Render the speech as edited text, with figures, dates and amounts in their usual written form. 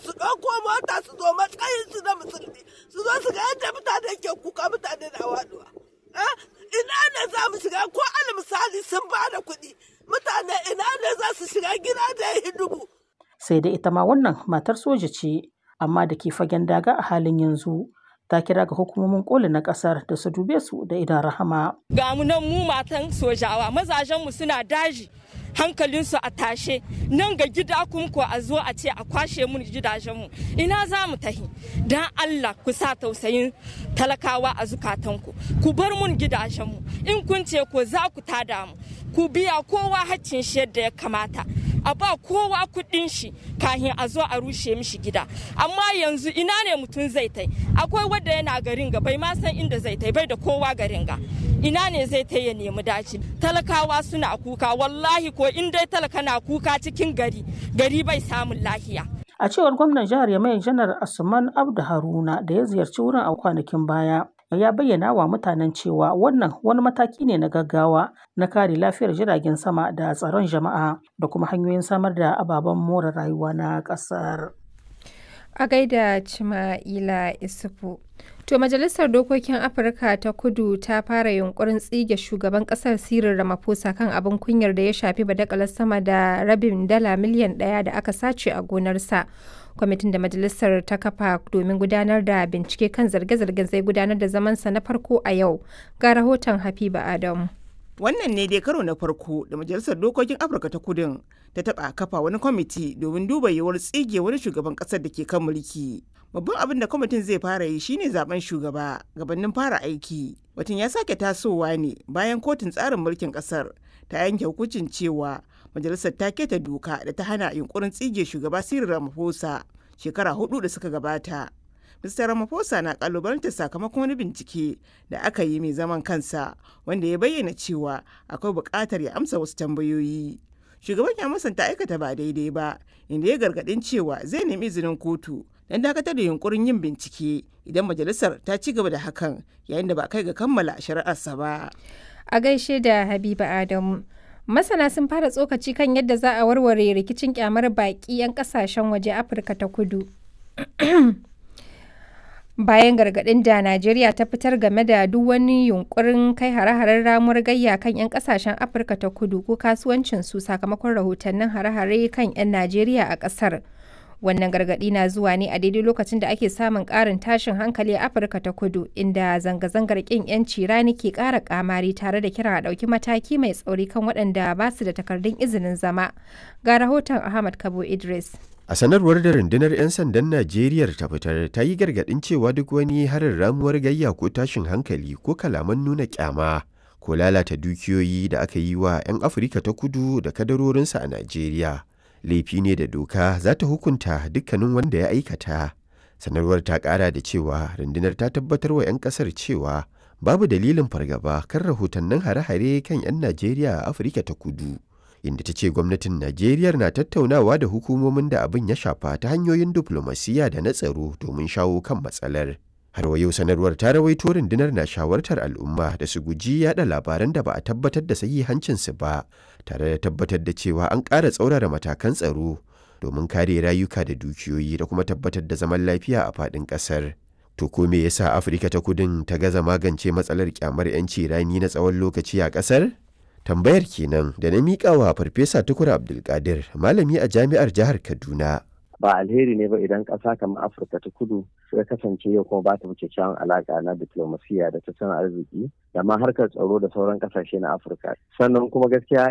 su ɗauko mota su zo matsayin su na musulmi su zo su ga yadda mutane ke kuka, mutane na waduwa. Ina ne za mu shiga? Ko al misali sun ba da kuɗi, mutane ina ne za su shiga gida da ya dubu? Sai dai ita ma wannan matar soja ce, amma da ke fagen daga a halin yanzu, ta kira ga hukumomin koli na kasar da su dube su da idan rahama. Ga mu nan mu matan sojawa, mazajenmu suna daji, hankalinsu a tashe, nan ga gida kuma ko a zo a ce a kwashe mun gidajenmu, ina za mu tahi? Dan Allah ku sa tausayin talakawa a zukatanku, ku bar mun gidajenmu. In kun ce ko za ku tada mu, ku biya kowa haccin shi yadda ya kamata, a ba kowa kuɗin shi kahin a zo a rushe mishi gida. Amma yanzu ina ne mutum zai tai? Akwai wanda yana garin ga bai ma san inda zai tai, bai da kowa garin ga, ina ne zai tai ya nemi daci? Talakawa suna kuka, wallahi ko in dai talaka na kuka cikin gari, gari bai samun lahiya. A cewar gwamnan jihar Yamai, Janar Asuman Abdu Haruna, da ya ziyarci wurin a kwanakin baya, ya bayyana wa mutanen cewa wannan wani mataki ne na gaggawa na kare lafiyar jiragen sama da tsaron jama'a da kuma hanyoyin samar da ababen more rayuwa na ƙasar. A gaida Cima'ila Isufu. To, Majalisar Dokokin Afirka ta Kudu ta fara yunkurin tsige shugaban kasar Cyril Ramaphosa kan abin kunyar da ya shafi badakalar sama da rabin dala miliyan 1 da aka sace a gonarsa. Kwamitin da majalisar ta kafa domin gudanar da bincike kan zarge-zargen zai gudanar da zamansa na farko a yau. Ga rahoton Habiba Adamu. Wannan ne dai karo na farko da Majalisar Dokokin Afirka ta Kudin ta taɓa kafa wani kwamiti domin duba yiwuwar tsige wani shugaban ƙasar da ke kan mulki. Babban abin da kwamitin zai fara yi shine zaben shugaba gabanin fara aiki. Batun ya sake tasowa ne bayan kotun tsarin mulkin ƙasar ta yanke hukuncin cewa majalisar ta keta doka da ta hana yunkurin tsige shugaba Cyril Ramaphosa shekara 4 da suka gabata. Mr. Ramaphosa na kalubalantar sakamakon wani bincike da aka yi mai zaman kansa wanda ya bayyana cewa akwai buƙatar ya amsa wasu tambayoyi. Shugaban ya musanta aikata ba daidai ba, inda ya gargaɗin cewa zai nemi izinin kotu don dakatar da yunkurin yin bincike idan majalisar ta ci gaba da hakan yayin da ba kai ga kammala shari'arsa ba. A gaishe da Habiba Adamu. Masana sun fara tsokaci kan yadda za a warware rikicin kyamar baƙi 'yan ƙasashen waje Afirka ta Kudu. Bayan gargaɗin da Najeriya ta fitar game da duk wani yunkurin kai hare-haren ramuwar gayya kan 'yan kasashen Afirka ta Kudu ko kasuwancinsu sakamakon rahotannin hare-hare kan 'yan Najeriya a ƙasar. Wannan gargaɗi na zuwa ne a daidai lokacin da ake samun ƙarin tashin hankali a Afirka ta Kudu, inda zanga-zangar ƙin 'yanci rani ke ƙara ƙamari tare da kiran a ɗauki mataki mai tsauri kan waɗanda ba su da takardun izinin zama. Ga rahoton Ahmad Kabo Idris. A sanarwar da rundunar 'yan sandan Najeriya ta fitar, ta yi gargaɗin cewa duk wani harin ramuwar gayya ko tashin hankali ko kalaman nuna kyama ko lalata dukiyoyi da aka yi wa 'yan Afirka ta Kudu da kadarorinsu a Najeriya, laifi ne da doka za ta hukunta dukkanin wanda ya aikata. Sanarwar ta ƙara da cewa rundunar ta tabbatar wa 'yan ƙasar cewa babu dalilin fargaba kan rahotannin hare-hare kan 'yan Najeriya a Afirka ta Kudu, inda ta ce gwamnatin Najeriya na tattaunawa da hukumomin da abin ya shafa ta hanyoyin diflomasiyya da na tsaro domin shawo kan matsalar. Har wa yau, sanarwar ta rawaito rundunar na shawartar al'umma da su guji yada labaran da ba a tabbatar da sahihancinsu ba, tare da tabbatar da cewa an ƙara tsaurara matakan tsaro domin kare rayuka da dukiyoyi da kuma tabbatar da zaman lafiya a faɗin ƙasar. To, ko me yasa Afirka ta Kudin ta gaza magance matsalar kyamar 'yanci rani na tsawon lokaci a ƙasar? Tambayar kenan da na miƙa wa Farfesa Tukur Abdulkadir, malami a jami'ar jihar Kaduna. Ba alheri ne ba idan ƙasa kamar Afirka ta Kudu ya kasance yau kuma ba ta kyakkyawan alaƙa na diplomasiya da tattalin arziki da ma harkar tsaro da sauran ƙasashe na Afirka. Sannan kuma gaskiya